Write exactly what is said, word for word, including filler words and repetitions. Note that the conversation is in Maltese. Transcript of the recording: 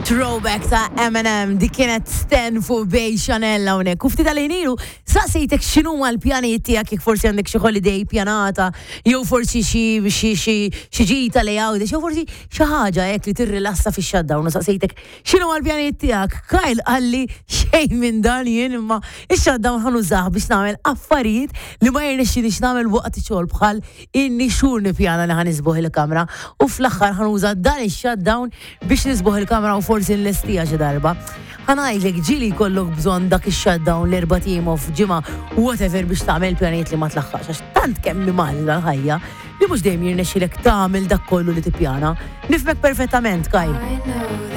Throwback ta' Eminem, di kienet Stan fuq Bay Chanel hawnhekk. U ftit tal-ħin ilu saqsejtek x'inhuma l-pjanijiet tiegħek, jekk forsi għandek xi holiday pjanata, jew forsi xi xi xi xi ġita li Għawdex, jew forsi xi ħaġa hekk li tirrilassa fix-shutdown, u saqsejtek x'inhuma l-pjanijiet tiegħek. Kyle qalli: "Xejn minn dan jien, imma ix-shutdown ħa nużah biex nagħmel affarijiet li ma jirnexxilix nagħmel waqt xogħol, bħal inni xhur nippjana li ħa niżbogħ il-kamra u fl-aħħar ħa nuża dan ix-shutdown biex niżbogħ il-kamra u forsi nlestija xi darba." Ħa ngħidlek, ġieli jkollok bżonn dak ix-shutdown, l-erbat ijiem off, ġimgħa, whatever, biex tagħmel pjanijiet li ma tlaħħaqx, għax tant kemm mgħaġġla l-ħajja li mhux dejjem jirnexxilek tagħmel dak kollu li tippjana. Nifhmek perfettament, Kyle.